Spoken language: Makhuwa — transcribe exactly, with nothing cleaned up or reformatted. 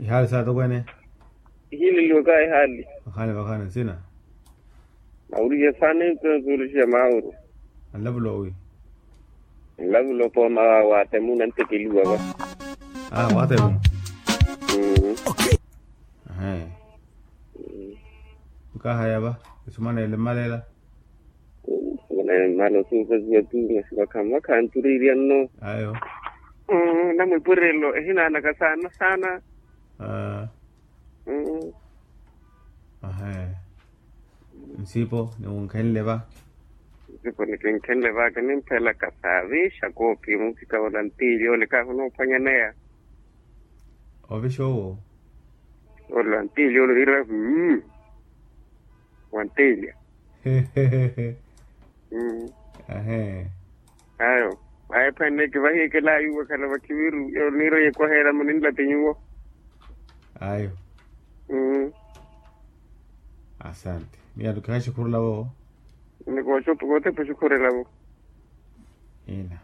Ihaali saatokwene. Ihiileliwaka ihaali. Vakhaani vakhaani nsina. Mawuriye saana entonsuulixiya maawuru. Anlavula owi? Nlavula opooma wa watemu nantekeliwa va. Aa watemu. Ahe. Mukahaya va isumanele mmalela. Mmalela osuupaziwa tu masi vakhamu vakhanturirya nno. Ayo. Namwipurelo ehinaanaka saana saana. Ahe. Nsipo niwunkhenle va. Nsipo nikinkhenle va kinimphela kasaavixa koopi musikavo na ntiili ole kahunophwanyaneya. Ovixa owo. Ole wa ntiili ole niira. Wantiilya. Ayo. Ayo phwene kivahiyekelayu wakhala vakhiviru yoniira yekwaheela muninlati nyuwo. Ayo. Asante. Miyalu kihaxukhurulavo. Nikootepa oxukhurelavo. Ina.